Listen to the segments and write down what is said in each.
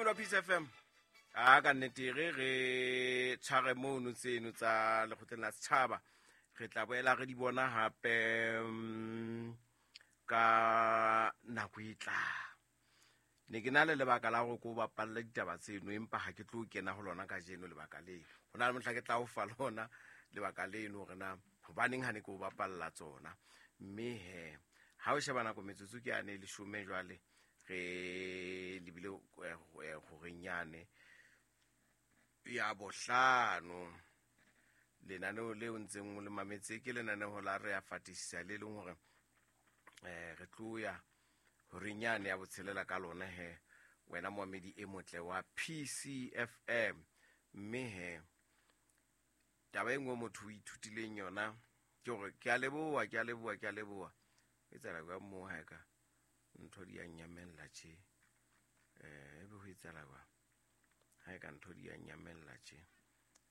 Mamedi wa Peace FM, a ka nnete re tshware mono tseno tsa lekgotleng la setjhaba, re tla boela re di bona hape ka nako e tlang. Ne ke na le lebaka la gore ko bapalle ditaba tseno, empa ha ke tlo kena ho lona kajeno lebaka leno. Ho na le mohla ke tla o fa lona lebaka leno hore na hobaneng ha ne ke o bapalla tsona. Mme he ha o sheba nako metsotso ke yane 10 jwale, re lebile horeng yane ya 5. Lenaneo leo ntseng o le mametse ke lenaneo la Re a Fatisisa, le leng hore re tlo ya horeng yane ya 6 ka lona he, wena moamedi e motle wa PCFM. Mme he taba e nngwe motho o ithutileng yona ke hore ke a leboha, ke a leboha, ke a leboha. E tsela jwang moo ha e ka ntho di a nyamella tje? Ebe ho etsahala jwang ha e ka ntho di a nyamella tje?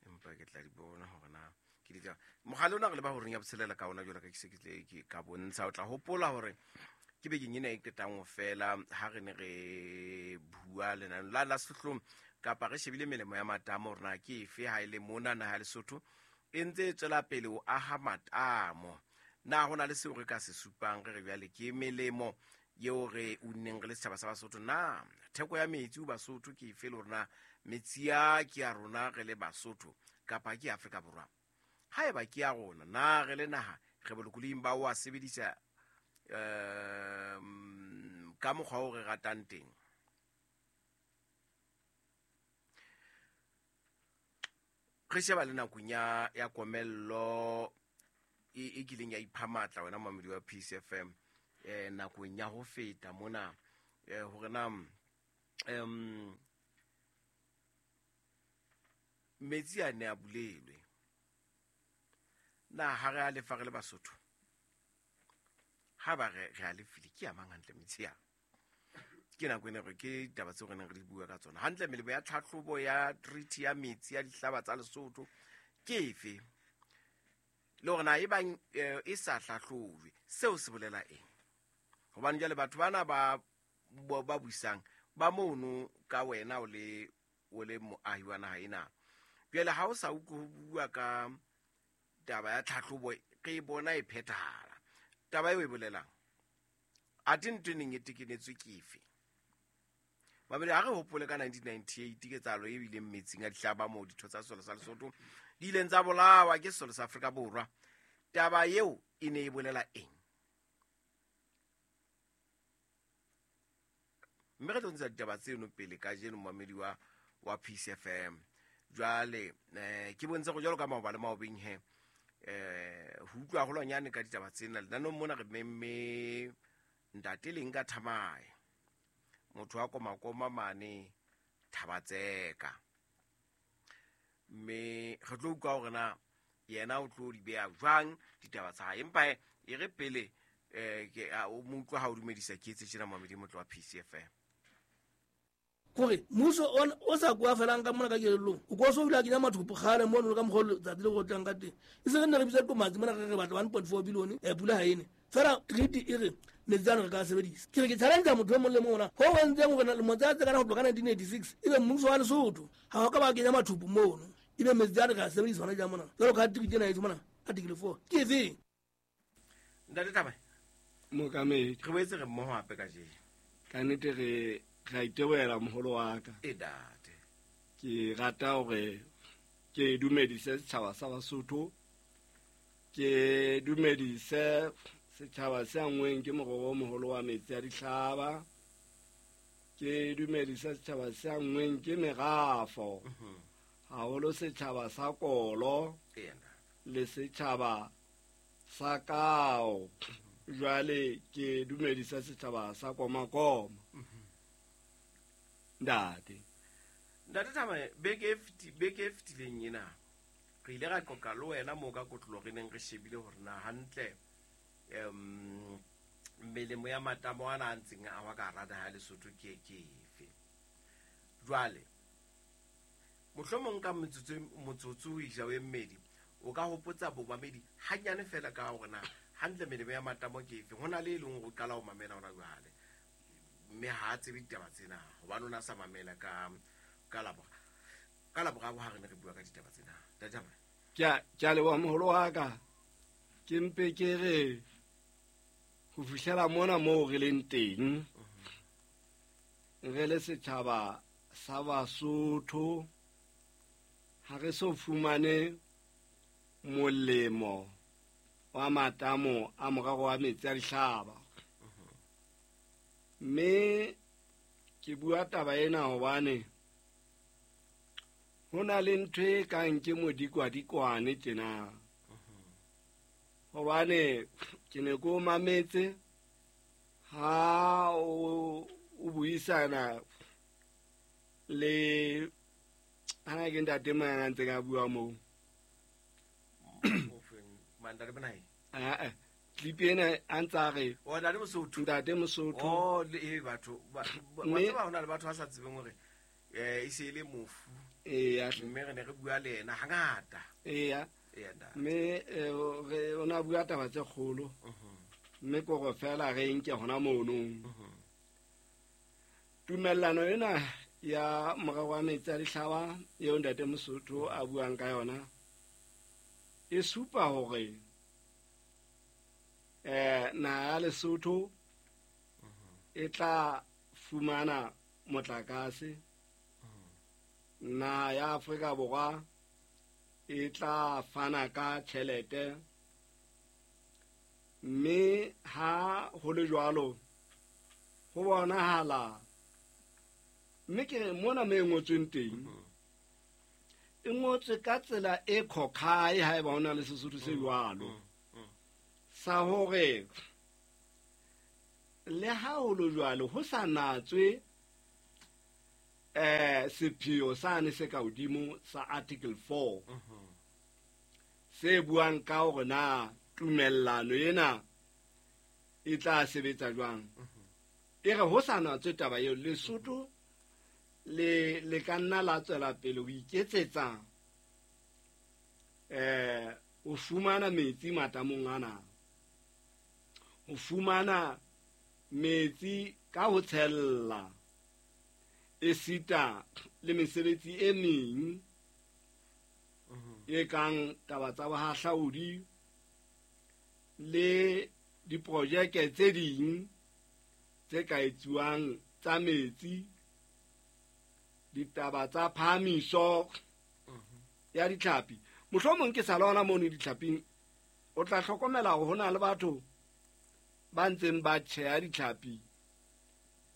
Empa ke tla di bona hore na ke di tla. Mogale ona re le ba horeng ya 6 ka ona jwalo ka ke se ke tle ke ka bontsha. O tla hopola hore ke bekeng ena e qetang ho fela ha re ne re bua lenaneo la sehlohlolong, kapa re shebile melemo ya matamo hore na ke efe ha e le mona naha ya Lesotho e ntse e tswela pele ho aha matamo. Na ho na le seo re ka se supang re re jwale ke melemo eo re unneng re le setjhaba sa Basotho? Na theko ya metsi ho Basotho ke efe, le hore na metsi a ke ya rona re le Basotho kapa ke Afrika Borwa? Haeba ke ya rona, na re le naha re bolokolohing ba ho a sebedisa ka mokgwa o re ratang teng? Re sheba le nakong ya komello e kileng ya ipha matla wena momamedi wa Peace FM, nakong ya ho feta mona, hore na metsi a ne a bulelwe na ha re a lefa re le Basotho? Ha ba re a lefile, ke a mang hantle metsi a? Ke nako ena hore ke ditaba tseo re neng re di bua ka tsona. Hantle melemo ya tlhahlobo ya treaty ya metsi ya dihlaba tsa Lesotho ke efe? Le hore na e bang e sa hlahlojwe, seo se bolela eng? Hobane jwale batho bana ba buisang ba mono ka wena o le moahi wa naha ena. Jwale ha o sa utlwe ho bua ka taba ya tlhahlobo, re e bona e phethahala. Taba eo e bolelang? Athe ntho e neng e tekenetswe ke efe? Babedi, ha re hopole ka 1998 ketsahalo e bileng metsing a dihlaba moo ditho tsa sesole sa Lesotho di ileng tsa bolawa ke sesole sa Afrika Borwa. Taba eo e ne e bolela eng? Mme re tlo ntsha ditaba tseno pele kajeno momamedi wa Peace FM. Jwale ke bontshe go jwalo ka maoba le maobeng he, ho utlwa haholwanyane ka ditaba tsena. Lenaneong mona re memme ntate Leng ka Thamae, motho wa Komakoma mane Thabatseka. Mme re tlo utlwa hore na yena o tlo di beha jwang ditaba tsa hae. Empa e re pele ke o mo utlwa ha o dumedisa ke etse tjena momamedi motlo wa Peace FM. Kore mmuso o sa kwa felang ka mona ka kelellong, o ko so o ile a kenya mathopo kgale mono le ka mokgwa o letsatsi le go tlang ka teng. E se re nne re bitsa qomatsi mona re re batla 1.4 billion, pula ha ene. Fela treaty e re metsi ano re ka sebedisa. Ke re ke challenge motho e mong le mong ona, ho entseng hore lemo tsa tse kana ho tloha ka 1986 ebe mmuso wa Lesotho ha o ka ba kenya mathopo mono, ebe metsi ano re ka sebedisa hona jwang mona. Jwalo ka treaty ena e mona article 4 ke efeng? Ntate Thamae. Mookamedi. Re boetse re mmoho hape kajeno. Ka nnete re a itebohela moholo wa ka. E date. Ke rata hore ke dumedise setjhaba sa Basotho, ke dumedise setjhaba se anngweng ke morero o moholo wa metsi a dihlaba, ke dumedise setjhaba se anngweng ke merafo, haholo setjhaba sa Kolo le setjhaba sa Kao. Jwale ke dumedisa setjhaba sa Komakoma. Ntate. Ntate Thamae, beke e fetileng ena re ile ra qoqa le wena moo ka kotlolo re neng re shebile hore na hantle melemo ya matamo ana a ntseng a wa ka hara naha ya Lesotho ke efe. Jwale mohlomong ka motsotso o isa o e mmedi o ka hopotsa bomamedi hanyane fela ka hore na hantle melemo ya matamo ke efe. Ho na le e leng hore o qala ho mamela hona jwale. Mme ha a tsebe ditaba tsena hobane o ne a sa mamela ka ka Laboraro ha re ne re bua ka ditaba tsena. Ntate Hamane. Ke a leboha moholo wa ka. Ke mpe ke re ho fihlela mona moo re leng teng, re le setjhaba sa Basotho ha re so fumane molemo wa matamo a morero wa metsi a dihlaba. Mme ke bua taba ena hobane ho na le ntho e kang ke modikwadikwane tjena. Hobane ke ne ko mametse ha o buisana le hana ke ntate mang a ntseng a bua moo. Ntate Bonai? Clip ena a ntse a re o ntate Mosotho. Ntate Mosotho. Oh, le batho ba tseba hona le batho ba sa tsebeng hore e se le mofu. Eya. Mme re ne re bua le yena hangata. Eya. Mme re o na bua taba tse kgolo. Mme kore fela re nke hona mono. Tumellano ena ya morero wa metsi a dihlaba eo ntate Mosotho a buang ka yona e supa hore naha ya Lesotho e tla fumana motlakase, naha ya Afrika Borwa e tla fana ka tjhelete, mme ha ho le jwalo ho bonahala mme ke mona me ngotsweng teng e ngotswe ka tsela e khokhae haeba hona le Sesotho se jwalo sa hore le ha ho le jwalo ho sa natswe sepheo sane se ka hodimo sa Article 4 se buang ka hore na tumellano ena e tla sebetsa jwang. E re ho sa natswe taba eo, Lesotho le ka nna la tswela pele ho iketsetsa o fumana metsi matamong ana, o fumana metsi ka ho tshella esita le mesebetsi e meng e kang taba tsa bohahlaudi le diprojeke tse ding tse ka etsuwang tsa metsi, ditaba tsa phahamiso ya ditlhapi. Mohlomong ke sa lona mono ditlhaping, o tla hlokomela hore ho na le batho ba ntseng ba tjheha ditlhapi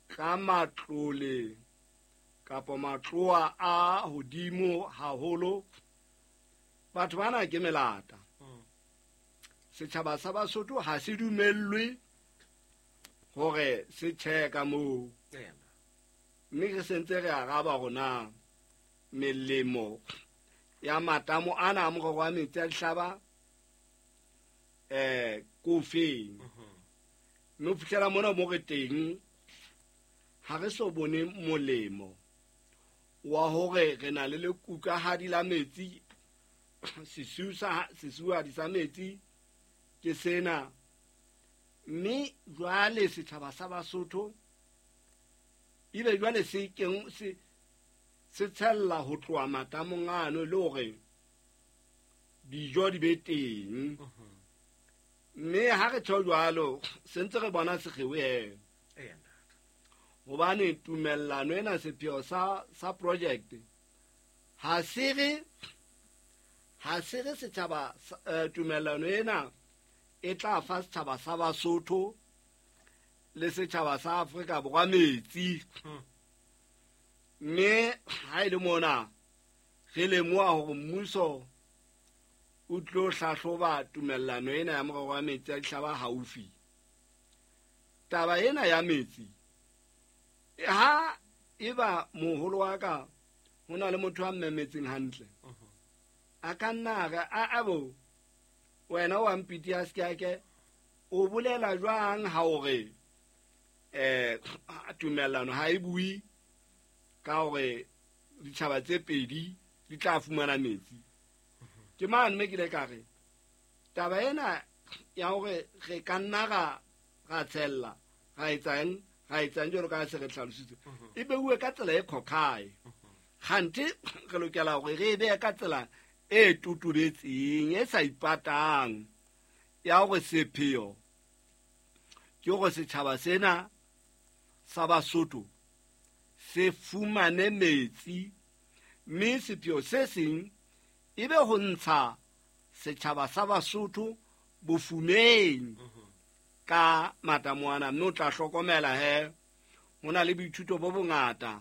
ka matlole kapa matloa a hodimo haholo. Batho bana ke melata. Setjhaba sa Basotho ha se dumellwe hore se tjhehe ka moo. Mme re sentse re araba rona melemo ya matamo ana a morero wa metsi a dihlaba ko feng. Mme ho fihlela mona mo re teng ha re so bone molemo wa hore re na le lekukahadi la metsi, sesuhadi sa metsi ke sena. Mme jwale setjhaba sa Basotho ebe jwale se keng se tshella ho tloha matamong ano le hore dijo di be teng. Mme ha re tjho jwalo se ntse re bona sekgeo he. Hobane tumellano ena sepheo sa project ha se re setjhaba tumellano ena e tla fa setjhaba sa Basotho le setjhaba sa Afrika Borwa metsi. Mme ha e le mona re lemoha hore mmuso o tlo hlahloba tumellano ena ya morero wa metsi a dihlaba haufi. Taba ena ya metsi ha eba moholo wa ka ho na le motho a mmemetseng hantle, a ka nna re a bo wena wa mpiti a se ke o bolela jwang ha hore tumellano ha e bue ka hore ditjhaba tse pedi di tla fumana metsi. Ke mane mme ke ile ka re taba ena ya hore re ka nna ra tshella ra etsang ra etsang jwalo ka ha se re hlalositse, e beuwe ka tsela e khokhae. Kganthe re lokela hore re e behe ka tsela e totobetseng, e sa ipatang, ya hore sepheo ke hore setjhaba sena sa Basotho se fumane metsi, mme sepheo se seng e be ho ntsha setjhaba sa Basotho bofumeng ka matamoana. Mme o tla hlokomela he ho na le boithuto bo bongata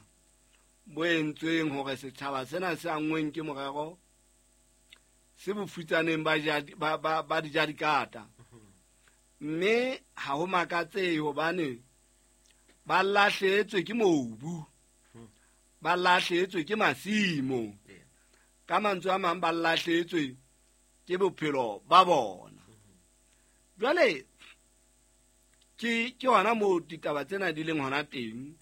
bo entsweng hore setjhaba sena se anngweng ke morero se bofutsaneng ba dijadikata. Mme ha ho makatsehe hobane ba lahlehetswe ke mobu, ba lahlehetswe ke masimo, ka mantswe a mang ba lahlehetswe ke bophelo ba bona. Jwale ke hona moo ditaba tsena di leng hona teng.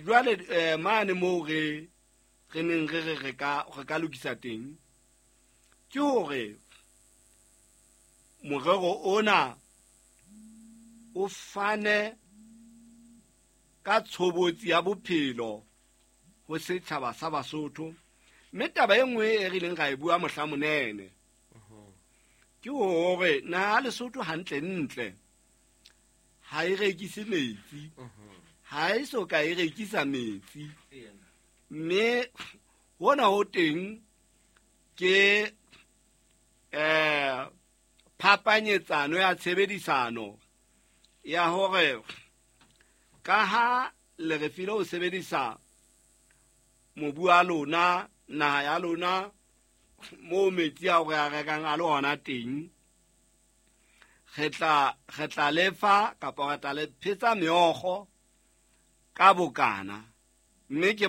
Jwale mane moo re neng re ka lokisa teng ke hore morero ona o fane ka tshobotsi ya bophelo ho setjhaba sa Basotho. Mme taba e nngwe e re ileng ra e bua mohla monene ke hore naha Lesotho hantle-ntle ha e rekise metsi, ha e so ka e rekisa metsi. Mme hona ho teng ke phapanyetsano ya tshebedisano ya hore ka ha le re file ho sebedisa mobu wa lona, naha ya lona, moo metsi ao re a rekang a le hona teng, re tla lefa kapa re tla le phetsa meokgo ka bokana. Mme ke